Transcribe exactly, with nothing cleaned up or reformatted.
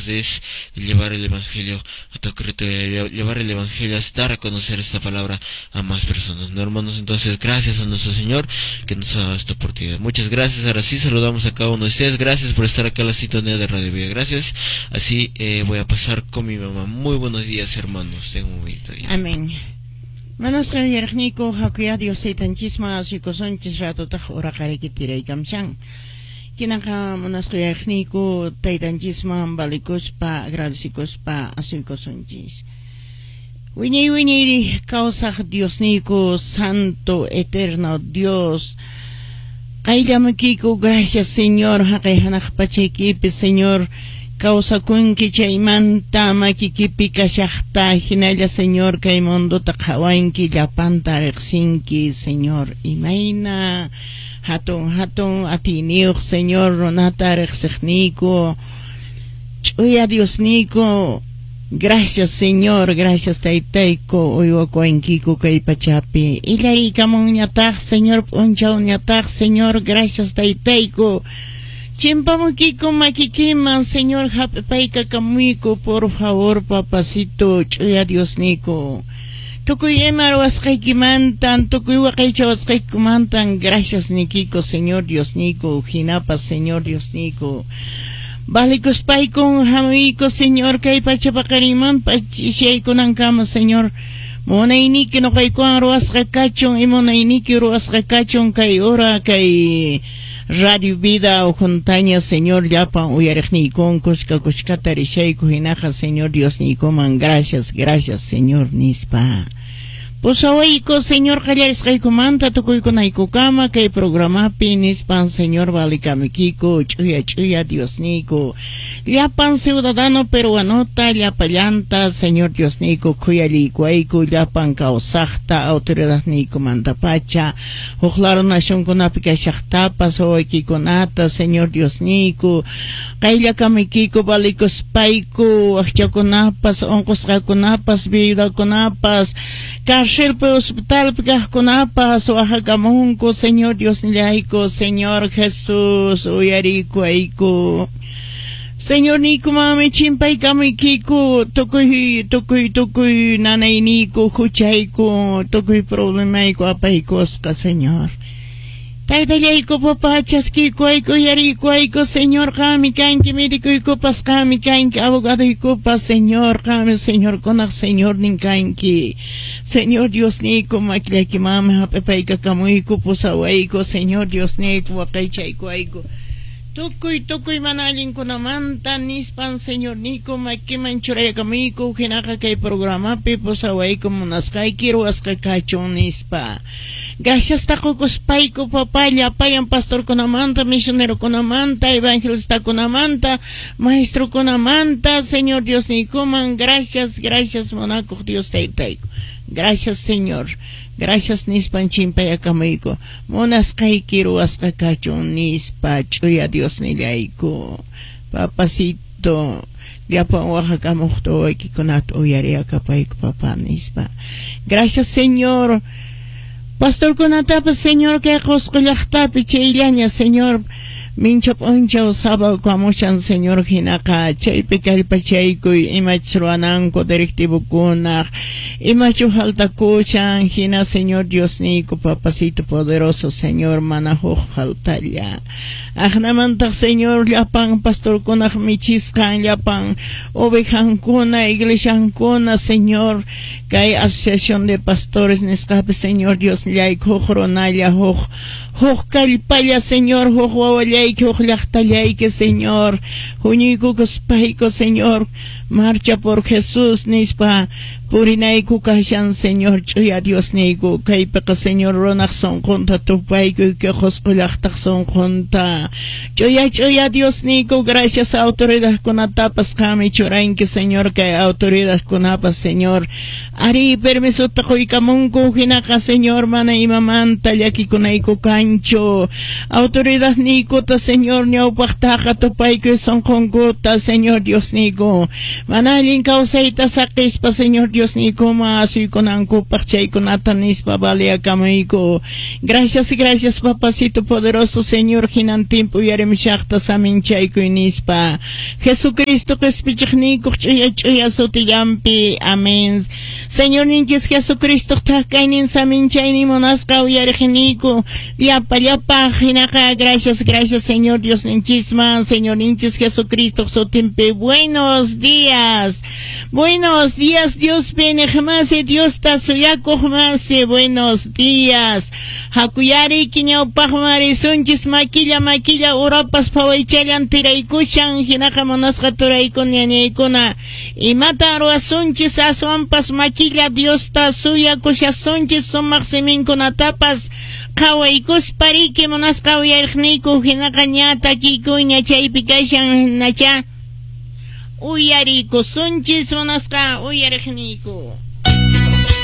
Es llevar el evangelio a tu criatura, llevar el evangelio, es dar a conocer esta palabra a más personas, ¿no, hermanos? Entonces, gracias a nuestro Señor que nos ha dado esta oportunidad. Muchas gracias. Ahora sí, saludamos a cada uno de ustedes. Gracias por estar acá en la sintonía de Radio Vida. Gracias. Así eh, voy a pasar con mi mamá. Muy buenos días, hermanos. Tengan un bonito día. Amén. Munasqa uyariqniyku, hakuyá Dios taytanchisman asuykusunchis, ratutaq uraqariki tiraykamshan. Kinaqa munasqa uyariqniyku, taytanchisman valikuspa, agradecikuspa asuykusunchis. Wiñay wiñay kawsaq Diosniyku, santo, eterno Dios. Qayllamuykiku, gracias, Señor, haqay hanaq pachaykipi, Señor, kawsakunki, chaymanta makikipi kashaqta hinalla, Señor, kay mundota qhawanki, llapanta riqsinki, Señor, imayna hatun hatun atiyniyuq, Señor, runata riqsiqniyku, ch'uya Diosniyku. Gracias, Señor, gracias, taytayku, uywakuwankiku kay pachapi. Illariykamunñataq, Señor, p'unchawñataq, Señor, gracias, taytayku. Chimpamukiku makikiman, Señor, hap'ipaykakamuyku, por favor, papacito, ch'uya Diosniyku. Tukuy ima ruwasqaykimantan, tukuy waqaychawasqaykimantan, gracias nikiku, Señor Diosniyku, hinapas, Señor Diosniyku. Valikuspayku hamuyku, Señor, kay pacha paqarinman ch'isiyaykunankama, Señor. Munayniki nuqaykuwan ruwasqa kachun, y munayniki ruwasqa kachun kay hora, kay Radio Vida Juntaña, Señor, llapan uyariqniykun kushka kushkata rishayku hinaqa, Señor Diosniykuman, gracias, gracias, Señor, nispa. Pusawayku, Señor, qallarisqaykumanta tukuykunaykukama kay programapi nispan, Señor, valikamuykiku, ch'uya ch'uya Diosniyku. Llapan ciudadano peruanota, llapallanta, Señor Diosniyku, khuyaliykuwayku, llapan kawsaqta, autoridadniykumantapacha, huk lado nacionkunapi kashaqtapas, wawaykikunata, Señor Diosniyku, qayllakamuykiku, valikuspayku, wakchakunapas, unqusqakunapas, viudakunapas, cárcelpi, hospitalpi kaqkunapas, waqakamunku, Señor Diosnillayku, Señor Jesús, uyariykuwayku. Señor niykumami chimpaykamuykiku, tukuy tukuy tukuy nanayniyku, huchayku, tukuy problemayku apaykusqa, Señor. Taytallayku, papá, chaskiykuwayku, uyariykuwayku, Señor, qammi kanki médicoykupas, qammi kanki abogadoykupas, Señor, qammi señorkunaq Señornin kanki. Señor Diosniyku, makillaykimanmi hap'ipaykakamuyku, pusawayku, Señor Diosniyku, waqaychaykuwayku. Tukuy tukuy mana allinkunamanta nispan, Señor niyku, makiman churaykamuyku, hinaqa kay programapi pusawayku, munasqayki ruwasqa kachun nispa. Gracias taqukuspayku, papá, llapallan pastorkunamanta, misionerokunamanta, evangelistakunamanta, maestrokunamanta, Señor Diosniykuman, gracias, gracias, munakuq Dios taytayku. Gracias, Señor. Gracias nispan chimpayakamuyku. Munasqayki ruwasqa kachun nispa, ch'uya Diosnillayku. Papacito, llapan waqakamuqta wawaykikunata uyariyakapayku, papá, nispa. Gracias, Señor. Pastorkunatapas, Señor, kay Qusqu llaqtapi chayllaña, Señor. Mincha p'unchaw sábado kamushan, Señor, hinaqa chaypi kallpachaykuy imachus ruwananku directivokunaq, imachu faltakushan hina, Señor Diosniyku, papacito poderoso, Señor, mana huk faltalla. Aqnamantaq, Señor, llapan pastorkunaq michisqan, llapan ovejankuna, iglesiankuna, Señor, kay asociación de pastores nisqapi, Señor Diosnillayku, huk runalla, huk huk kallpalla, Señor, huk wawallayki, huk llaqtallayki, Señor, huñuykukuspayku, Señor, marcha por Jesús nispa purinayku kashan, Señor, ch'uya Diosniyku, kaypiqa, Señor, runaq sunqunta tupayku, kay Qusqu llaqtaq sunqunta. Ch'uya ch'uya Diosniyku, gracias autoridadkunatapas qammi churanki, Señor, kay autoridadkunapas, Señor, ari permisota quykamunku hinaqa, Señor, mana imamanta llakikunayku kanchu. kanchu. Autoridad niykuta, Señor, ñawpaqtaqa tupaykuy sunqunkuta, Señor Dios niyku. Mana allin kawsayta saqispa, Señor Dios niykuman asuykunankupaq chaykunata nispa baliakamuyku. Gracias, gracias, papacito poderoso, Señor, hinantinpi uyarimushaqta saminchaykuy nispa. Jesucristo qispichiqniykuq ch'uya ch'uya sutillanpi. Amén. Señor ninchis Jesucristo thakaynin saminchaynin munasqa uyariqniyku. Llapa llapa hinaqa gracias, gracias, Señor Dios ninchisman, Señor ninchis Jesucristo sutinpi. Buenos días. Buenos días, Dios masi, Dios ta suyakuq masi. Buenos días. Hakuyari kiñawpaqman risunchis makilla makilla urapas phawaychallan tiraykushan hinaqa munasqa turaykuna ñañaykuna imatan ruwasunchis aswanpas makilla Diosta suyakushasunchis sumaq siminkunatapas qhawaykuspa riki munasqa uyariqniyku hinaqa ña takikuyña chaypi kashan nacha uyarikusunchis munasqa uyariqniyku.